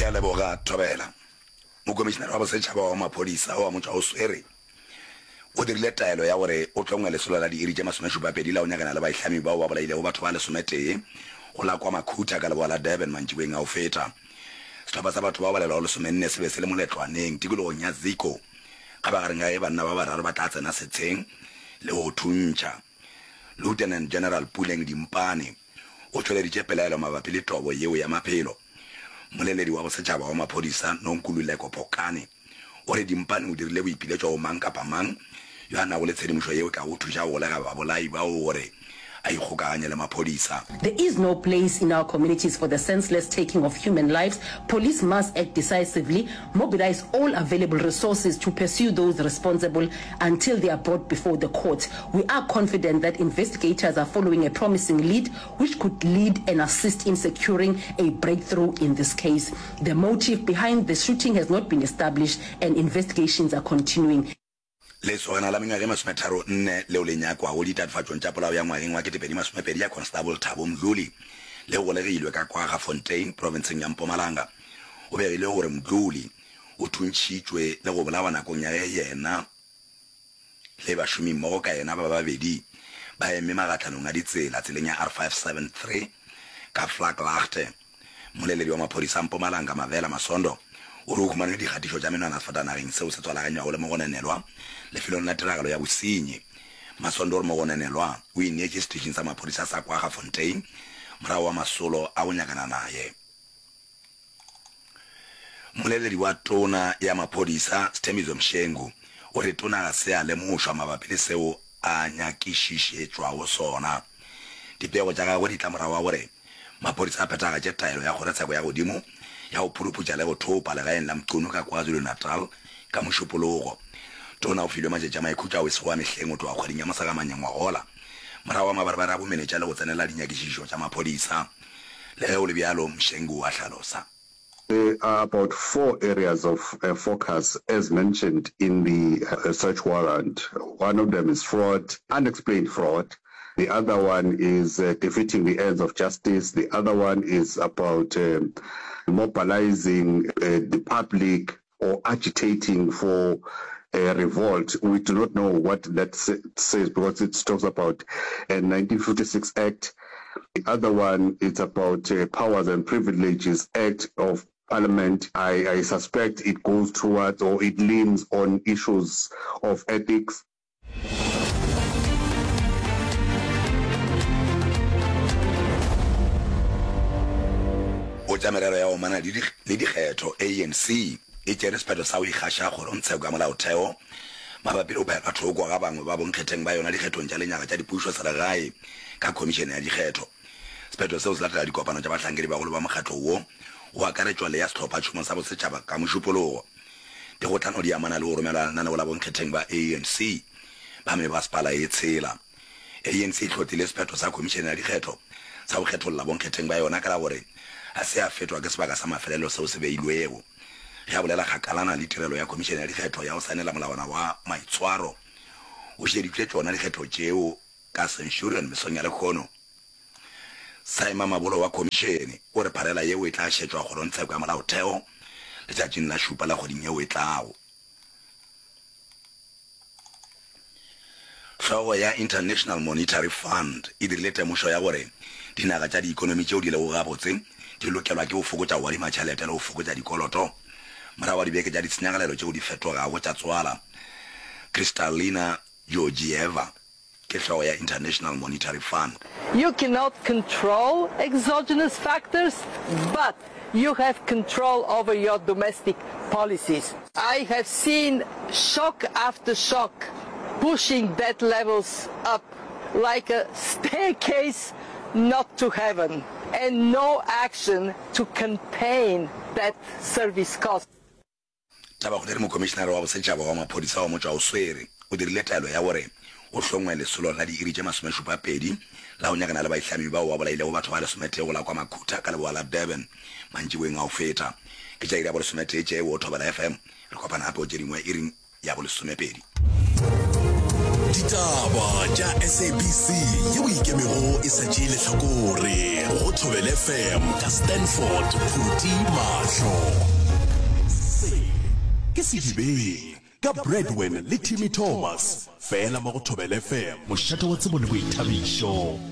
Ke a leboga, Thobela. Mokomišenare wa Bosetšhaba wa Maphodisa wa Motšwaoswere o dirile taelo ya gore o hlongwe lesolo la diiri tše masomešupapedi la go nyakana le baihlami bao ba bolailego batho ba lesometee go la KwaMakhutha ka leboa la Durban mantšiboeng a go feta. Sehlopha sa batho bao balelwago lesomenne se be se le moletlwaneng tikologong ya Ziko kgabagareng ga ge banna ba bararo ba tla tsena setsheng le go thuntšha. Lieutenant General Puleng Dimpane o tšweleditše pelaelo mabapi le tobo yeo ya maphelo. Mmoleledi wa bosetšhaba wa maphodisa, Nonkululeko Phokane, o re Dimpane o dirile boipiletšo go mang kapa mang yo a nago le tshedimošo yeo e kago thuša go golega babolai bao gore a ikgokaganye le maphodisa. There is no place in our communities for the senseless taking of human lives. Police must act decisively, mobilise all available resources to pursue those responsible until they are brought before the court. We are confident that investigators are following a promising lead which could lead and assist in securing a breakthrough in this case. The motive behind the shooting has not been established and investigations are continuing. Lesogana la mengwaga e masometharonne leo le nyakwago ditatofatšong tša polao ya ngwageng wa 2020 ya Constable Thabo Mdluli le golegilwe ka Kwaggafontein, profenseng ya Mpumalanga. Go begilwe gore Mdluli o thuntšhitšwe le go bolawa nakong ya ge yena le bašomimmogo ka yena ba babedi ba eme magahlanong a ditsela tseleng ya R573 ka Vlakplaagte. Mmoleledi wa maphodisa a Mpumalanga, Mavela Masondo, o re o humanwe dikgatišo tša menwana sefatanageng seo se tswalaganywago le mogononelwa lefelong la tiragalo ya bosenyi. Masondo o re mogononelwa o ineetše seteišing sa maphodisa sa Kwaggafontein morago wa masolo a go nyakana naye. Mmoleledi wa Tona ya Maphodisa, Sthembiso Mshengu, o re tona ga se a lemošwa mabapi le seo a nyakišišetšwago sona. Dipego tša gagwe di tla morago ga gore maphodisa a phethagatše taelo ya kgorotsheko ya godimo ya go phuruputša le go thopa legaeng la Mchunu ka KwaZulu-Natal ka Mošupologo. Tona o filwe matšatši a maikhutšo ao e sego a mehleng go tloga kgweding ya Mosegamanye ngwagola morago ga mabarebare a bomenetša le go tsenela dinyakišišo tša maphodisa. Le ge go le bjalo, Mshengu a hlalosa. There are about four areas of focus as mentioned in the search warrant. One of them is fraud, unexplained fraud. The other one is defeating the ends of justice. The other one is about mobilizing the public or agitating for a revolt. We do not know what that says because it talks about a 1956 Act. The other one it's about Powers and Privileges Act of Parliament. I, I suspect it goes towards or it leans on issues of ethics. Go tša merero ya go amana le dikgetho, ANC e tšere sephetho sa go ikgaša kgorongtsheko ya molaotheo mabapi le go phaelwa thoko ga bangwe ba bonkgetheng ba yona dikgethong tša lenyaga tša dipušo selegae ka khomišene ya dikgetho. Sephetho seo se latela dikopano tša bahlankedibagolo ba mokgatlo wo, go akaretšwa le ya sehlophatšhomo sa bosetšhaba ka Mošupologo. Dikgohlano di amana le go romelwa lenaneo la bonkgetheng ba ANC ba mebasepala ye tshela. ANC e hlotlile sephetho sa Khomišene ya Dikgetho sa go kgetholla bonkgetheng ba yona ka la gore ga se ya fetwa ke sebaka sa mafelelo seo se beilwego. Ge a bolela kgakalana le tirelo ya Khomišene ya Dikgetho ya go saenela molawana wa maitshwaro, o šeditšwe tšona dikgetho tšeo ka Centurion mesong ya lehono. Saima Mabolo wa Khomišene o re pharela yeo e tla šetšwa kgorongtsheko ya molaotheo letšatšing la šupa la kgweding yeo e tlago. Hlogo ya International Monetary Fund e dirile temošo ya gore dinaga tša diikonomi tšeo di lego gabotse di lokelwa ke go fokotša go adima tšhelete le go fokotša dikoloto morago ga dibeke tša ditshenyagalelo tšeo di fetogago tša tswala. Kristalina Georgieva ke hlogo ya International Monetary Fund. You cannot control exogenous factors, but you have control over your domestic policies. I have seen shock after shock pushing debt levels up like a staircase not to heaven, and no action to contain that service cost. Tabakgolo e re Mokomišenare wa Bosetšhaba wa Maphodisa wa Motšwaoswere o dirile taelo ya gore go hlongwe lesolo la diiri tše masomešupapedi la go nyakana le baihlami bao ba bolailego batho ba lesometee go la kwa Makhutha ka leboa la Durban mantšiboeng a go feta. Ke tša iri ya bolesometee tšeo, Thobela FM. Re kopana gape go tše dingwe iring ya bolesomepedi. Ditaba tša SABC yeo e ikemego e sa tšee lehlakore go Thobela FM ka Stanford Phuti Mahlo. Sedibeng ka Bradwin le Timmy Thomas, fela mo go Thobela FM, mošate wa tsebo le boithabišo.